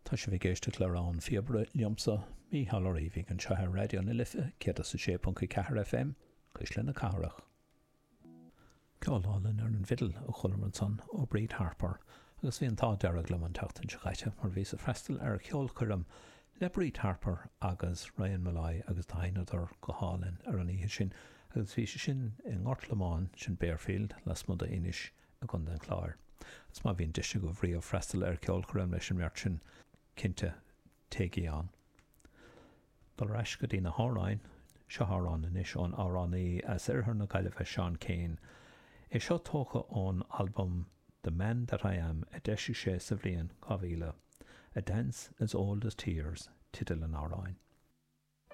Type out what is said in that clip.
Tá sibh ag éisteacht le Rogha an Phíobaire liomsa, Mícheál Ó Riabhaigh, anseo ar Raidió na Life 106.4 FM, Cuisle na Cathrach. Ceol álainn ar an bhfidil a chualamar ansan ó Bríd Harper agus bhí an t-ádh dearg liom an tseachtain seo caite mar bhíos ag freastal ar cheolchoirm le Bríd Harper agus Ryan Molloy agus do sheinneadar go hálainn ar an oíche sin agus bhí sé sin i nGort Lomáin, sin Barefield, lasmuigh d'Inis i gContae an Chláir. Agus má bhíonn deis agaibh riamh freastal ar cheolchoirm leis an mbeirt sin, cinnte, téigí ann. Dul ar ais go dtí na hamhráin, seo amhrán anois ón amhránaí as oirthear na Gaillimhe, Seán Keane. É seo tógtha ón albam The Man That I Am a d'eisigh sé sa bhliain 2000. A Dance As Old As Tears teideal an amhráin.